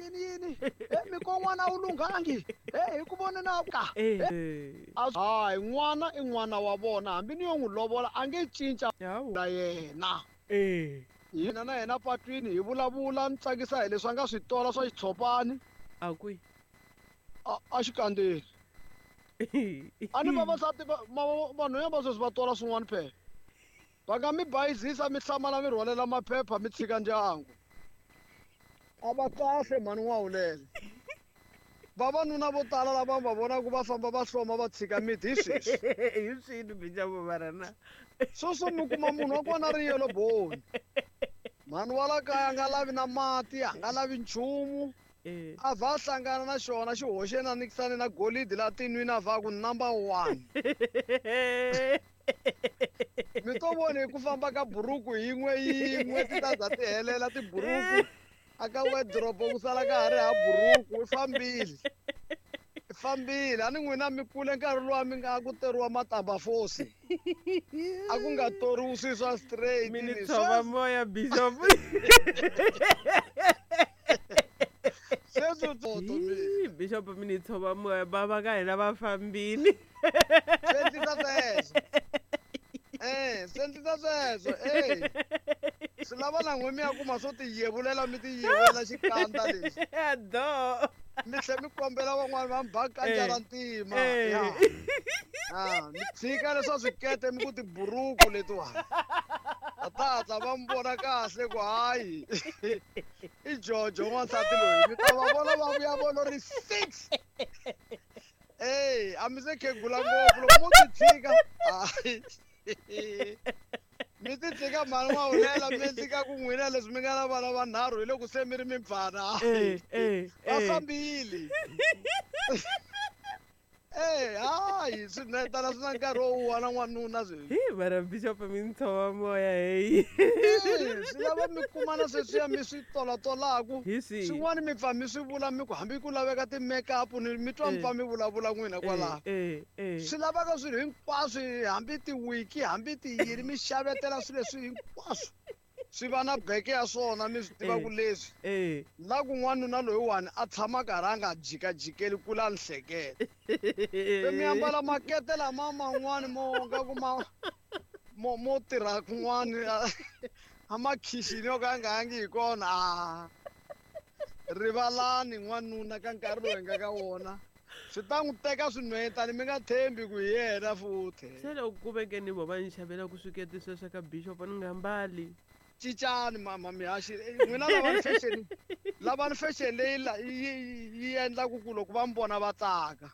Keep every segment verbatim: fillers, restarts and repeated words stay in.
yini yini e mi ko n'wana a wu lunghangi e hi ku vone na ka Eh. Hayi, n'wana i n'wana wa vona, hambi ni yo n'wi lovola a nge cinca Hawu. na yena. Eh. Hina na yena patwini hi vulavula, ni tsakisa hi leswi a nga swi tola swa xitshopani. A kwihi? A a xikandzeni. A ni vavasati vanhu va sweswi va tola swin'wana phela. Va nga mi bayizisa mi hlamala mi rhwalela maphepha mi tshika ndyangu. A va kahle mhani n'wawulele. Vavanuna vo tala lava va vonaka va famba va hloma va tshika miti hi sweswi. Hi swini Bishop mara na? Sweswo mi kuma munhu wa kona ri yellow bone. Mhani wa la kaya a nga lavi na mati, a nga lavi nchumu. Eh. A va hlangana na xona xi hoxe na nikisani na golidi la tinwini a va ku number one. Mi to vona hi ku famba ka buruku yin'we yin'we ti ta za ti helela tiburuku. A ka wardrobe ku sala ka ha ri ha buruku, i fambile. I fambile. A ni n'wina mi kule nkarhi luwa mi nga ku teriwa matamba fosi. A ku nga toriwi swilo swa straight. Mi ni ni tshova sweswi- moya Bishop. Sweswi toto mi. Hi, Bishop mi ni tshova moya, bava ka hina va fambile. Swi endlisa sweswo. Eh, swi endlisa sweswo. Eh. Swi lava na n'we mi ya kuma swo tiyevulela mi tiyevulela xikandza lexi. Do. Mi tlhe mi kombela van'wani va mi ba kandza ra ntima. Eh. Ya. Ah, mi tshika leswa swikete mi ku tiburuku letiwani. A ta hatla va mi vona kahle ku hayi. I Jojo n'wansati loyi. Mi ta va vona va vuya volo ri six. Ey, a mi se khegula ngopfu loko mo ti tshika. Hayi. Mi ti tshika mhani n'wawulela mi tshika ku n'wina leswi mi nga na vana vanharhu hi loko se mi ri mibvana. Eh, eh, Va eh. fambile. Eh, hayi swinetana swi na nkarhi wo wu wana n'wanuna sweswi. Hi, mara Bishop mi ni tshova moya heyi. Eh, swi lava mi kuma na sweswiya mi swi tolatolaku. Hi swihi? Swin'wana mi pfa mi swi vula mi ku hambi ku laveka ti-makeup ni mi twa mi pfa mi vulavula n'wina kwalaho. Eh, eh. Swi laveka swilo hinkwaswo hambi tiwiki hambi tiyini mi xavetela swilo leswi hinkwaswo. Swi va na beke ya swona mi swi tiva ku leswi. Eh. La ku n'wanuna loyiwani a tshama karhi a nga jikajikeli kula a ni hleketa. Se mi ambala makete lama man'wani mo nga ku ma mo mo tirha kun'wani a makhixini yo ka ya nga yangi hi kona. A rivalani n'wanuna ka nkarhi lowu hi nga ka wona. Swi ta n'wi teka swinhwetani mi nga tshembi ku hi yena futhi. Se loko ku veke ni vo va ni xavela ku swikete sweswo ka Bishop ni nga mbali. Cincani mama mihaxi n'wina lavani fashion lavani fashion leyi la yi yi endlaku ku loko va mi vona va tsaka.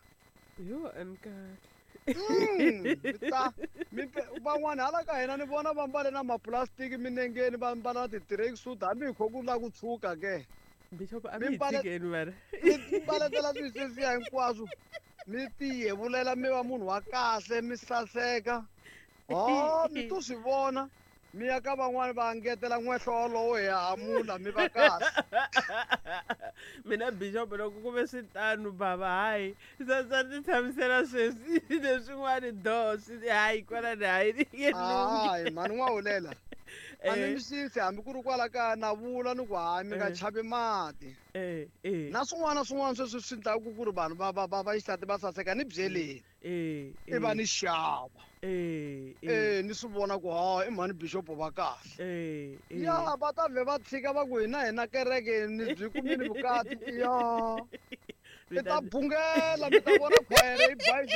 Yo, a ni kahle. Mm, mi ta mi van'wani hala ka hina ni vona va mbale na mapulasitiki minengeni va mbala na ti-tracksuit hambi hi kho ku lava ku tshuka ke. Bishop a Mi mi hi mbale- tshikeni mara. Mi mbaletela swilo sweswiya hinkwaswo mi tiyevulela mi va munhu wa kahle mi saseka. Ho mi to swi vona mi ya ka van'wani va ngetela n'wehlo wolowo hi hamula mi va kahle. Mina Bishop loko ku ve swi tano bava hayi swa swa ti tshamisela sweswi leswin'wani do swi hayi kwalani hayi ni nge lunghi. Hayi mhani n'wawulela. A ni Eh. mi xisi hambi ku ri kwala kaya na vula ni ku hayi mi nga Eh. chavi mati. Eh, eh. Na swin'wana na swin'wana sweswi swi endlaku ku ri vanhu va va va va xisati va saseka ni byeleni. Eh, I va eh. ni xava. Eh, eh. Eh, ni swi vona ku ha i mhani Bishop va kahle. Eh, eh. Ya va ta vhe va tshika va ku hina hina kereke ni byi kumile vukati. Ya. Mi Mi ta ta- bungela mi ta vona khwayere yi bayizisa.